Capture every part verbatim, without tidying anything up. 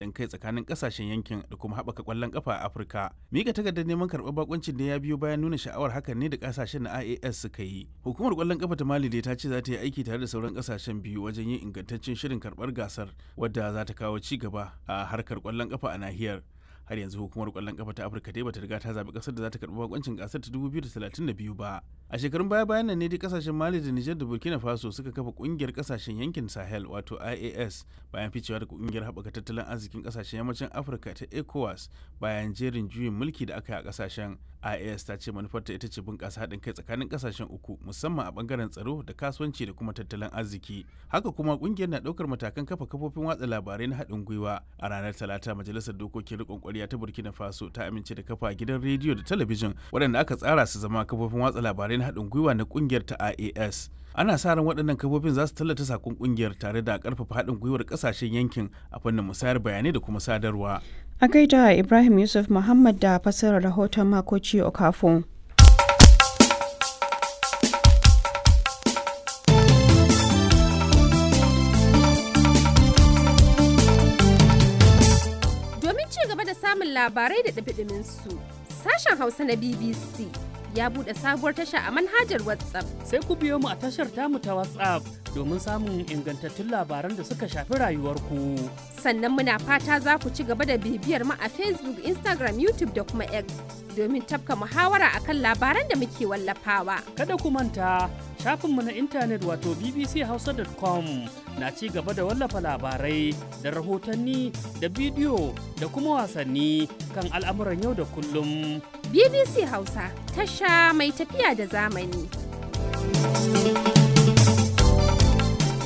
haɗin kai tsakanin ƙasashen yankin da kuma haɓaka ƙwallon ƙafa a Afirka. Mika takardar neman karɓar bakuncin da ya biyo bayan nuna sha'awar hakan ne da ƙasashen na I A S suka yi. Hukumar ƙwallon ƙafa ta Mali dai ta ce za ta yi aiki tare da sauran ƙasashen biyu wajen yin ingantaccen shirin karɓar gasar wadda za ta kawo ci gaba a harkar ƙwallon ƙafa a nahiyar. Har yanzu hukumar kwallon kafa ta Afirka dai bata riga ta zabi kasar da za ta karbi bakoncin gasar ta dubu biyu da talatin da biyu ba. A shekarun baya bayan nan ne dai kasashen Mali da Niger da Burkina Faso suka kafa kungiyar kasashen yankin Sahel, wato I A S, bayan ficewa daga kungiyar haɓaka tattalin arzikin kasashen yammacin Afirka ta ECOWAS bayan jerin juyin mulki da aka yi a kasashen. I A S ta ce manufarta ita ce bunƙasa haɗin kai tsakanin kasashen uku, musamman a bangaren tsaro da kasuwanci da kuma tattalin arziki. Haka kuma kungiyar na ɗaukar matakan kafa kafofin watsa labarai na haɗin gwiwa. A ranar Talata, majalisar dokokin riƙon ƙwarya ta Burkina Faso ta amince da kafa gidan rediyo da talabijin waɗanda aka tsara su zama kafofin watsa labarai na haɗin gwiwa na kungiyar ta I A S. Ana sa ran waɗannan kafofin za su tallata sakon kungiyar tare da ƙarfafa haɗin gwiwar ƙasashen yankin a fannin musayar bayanai da kuma sadarwa. A gaida Ibrahim Yusuf Muhammad da fassarar rahoton Makoci Okafo. Domin ci gaba da samun labarai da ɗumi su, sashen Hausa na B B C ya buɗe sabuwar tasha a manhajar WhatsApp. Sai ku biyo mu a tashar tamu ta WhatsApp domin samun ingantattun labaran da suka shafi rayuwarku. Sannan muna fata za ku ci gaba da bibiyar mu a Facebook, Instagram, YouTube da kuma X domin tafka muhawara akan labaran da muke wallafawa. Kada ku manta, shafinmu na intanet wato B B C hausa dot com na ci gaba da wallafa labarai da rahotanni da bidiyo da kuma wasanni kan al'amuran yau da kullum. B B C Hausa, tasha mai tafiya da zamani.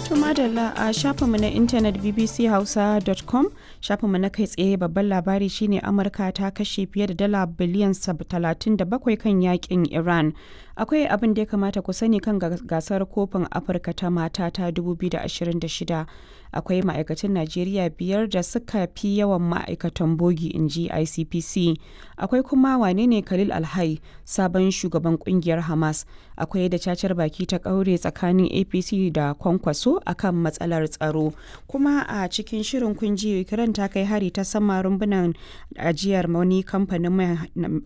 To madalla, a shafinmu na intanet B B C hausa dot com, shafinmu na kai tsaye, babban labari shine Amurka ta kashe fiye da dala biliyan talatin da bakwai kan yakin Iran. Akwai abin da ya kamata ku sani kan gasar kofin Afirka ta mata ta dubu biyu da ashirin da shida. Akwai ma'aikatan Najeriya biyar da suka fi yawan ma'aikatan bogi, in ji I C P C. Akwai kuma wane ne Khalil Alhai, sabon shugaban kungiyar Hamas. Akwai da cacar baki ta kaure tsakanin A P C da Kwankwaso akan matsalar tsaro. Kuma a cikin shirin kun ji Ukraine ta kai hari ta sama rumbunan ajiyar wani kamfanin mai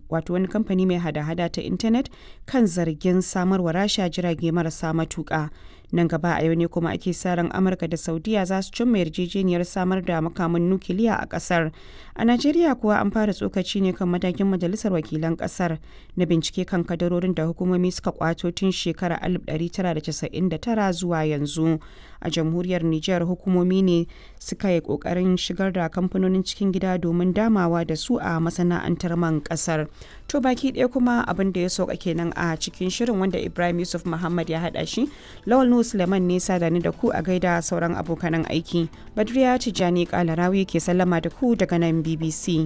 wato wani kamfani mai hada-hada ta intanet kan zargin samarwa Rasha jirage marasa matuka. Nan gaba a yau ne kuma ake sa ran Amurka da Saudiya za su cimma yarjejeniyar samar da makaman nukiliya a kasar. A Najeriya kuwa, an fara tsokaci ne kan matakin majalisar wakilan kasar na bincike kan kadarorin da hukumomi suka kwato tun shekarar alif ɗari tara da casa'in da tara zuwa yanzu. A jamhuriyar Nijar, hukumomi ne suka yi kokarin shigar da kamfanonin cikin gida domin damawa da su a masana'antar man kasar. To baki ɗaya kuma abin da ya sauka kenan a cikin shirin wanda Ibrahim Yusuf Muhammad ya haɗa shi. Lawal Nuhu Suleiman ne sada ni da ku. A gaida sauran abokanan aiki. Badriya Tijjani Kalarawi ke sallama da ku daga nan B B C.